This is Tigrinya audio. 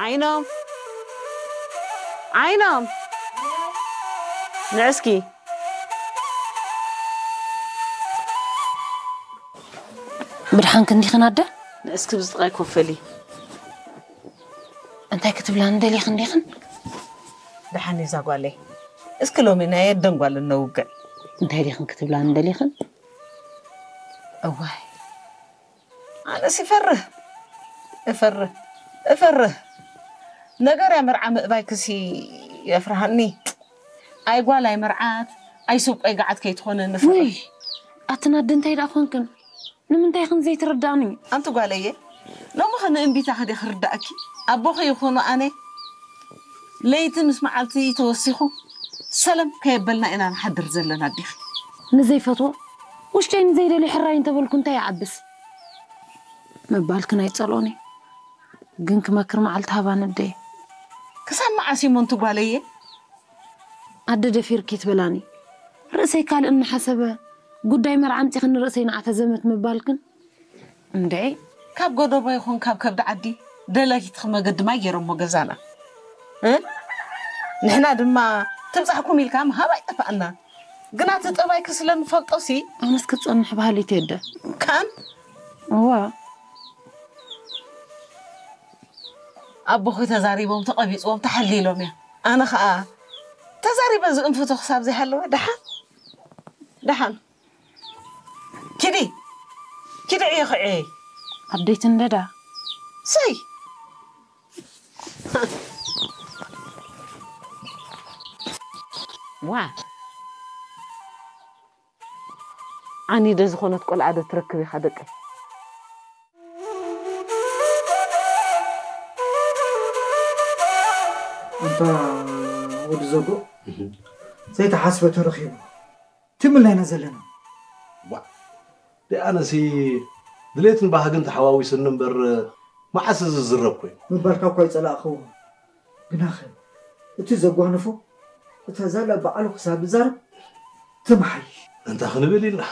ዓይኖም፣ ዓይኖም፣ ንዕስኪ። ብድሓን ክንዲኽን ኣደ? ንዕስኪ ብዝጥቓይ ኮፈሊ። እንታይ ክትብላን ደሊኽን ዲኽን? ደሓን እዛ ጓለይ። እስኪ ሎሚ ናይ ኣደን ጓልን ነውግዕ። እንታይ ዲኽን ክትብላን ደሊኽን? እዋይ፣ ኣነስ ይፈርህ፣ እፈርህ፣ እፈርህ። ነገር እያ መርዓ ምእባይ ክሲ የፍርሃኒ። ኣይ ጓል ኣይ መርዓት፣ ኣይ ሱብ ቆይ ገዓት ከይትኾነኒ እፈርህ። ውይ፣ ኣትን ኣደ እንታይ ደኣ ኾንክን? ንምንታይ ኽን ዘይትርዳእኒ? ኣንቲ ጓለየ፣ ሎሚ ኸ ንእምቢታ ኸዲ ክርዳእኪ? ኣቦኺ ይኹኑ ኣነ ለይቲ ምስ መዓልቲ ተወሲኹ ሰለም ከየበልና ኢና ንሓድር ዘለና ኣዴኺ። ንዘይፈትዎ ውሽጠይ ንዘይደልዮ ሕራይ እንተበልኩ እንታይ ይዓብስ? ምባልክን ኣይጸልኦን እየ። ግን ክመክር መዓልቲ ሃባኒ ኣደየ። ክሳብ መዓስ እሞ ኣንቲ ጓለየ? ኣደ ደፊርኪ ትበላኒ። ርእሰይ ካልእ እናሓሰበ ጉዳይ መርዓ ኣምጺኽኒ ርእሰይ ንዓተ ዘመት ምባልክን። እንድዒ። ካብ ጎደቦ ይኹን ካብ ከብዲ ዓዲ ደለይቲ መገዲ ማይ ገይሮሞ ገዛና። እ? ንሕና ድማ ትብጻሕኩም ኢልካ ምሃብ ኣይጠፋእና። ግና እቲ ጠባይኪ ስለ ንፈልጦሲ ኣነስ ክጸንሕ በሃሊት እየ ኣደ። ከኣን እዋ። ኣቦኺ ተዛሪቦም ተቐቢጽዎም ተሓሊሎም እያ። ኣነ ኸኣ ተዛሪበ ዝእንፍቶ ክሳብ ዘይሃለወ ደሓን ደሓን። ኪዲ ኪዲ ዕዮ ኽዕየይ። ኣደይቲ እንደዳ። ሰይ ዋ ዓኒደ ዝኾነት ቆልዓ ዶ ትረክብ ኢኻ ደቀይ? ኣንታ ወዲ ዘጎ ዘይተሓስበ ተረኺቡ ትምልና ኢና ዘለና። ዋ ደኣነሲ ድሌትን ባህግን ተሓዋዊስኒ እምበር መዓስ እዚ ዝዝረብ ኮይኑ። ምባልካ እኳ ይጸላእኽዎ ግናኸ እቲ ዘጓነፎ እታ ዛላ በዓሉ ክሳብ ዝዛረብ ትምሓይሽ። እንታይ ክንብል ኢልና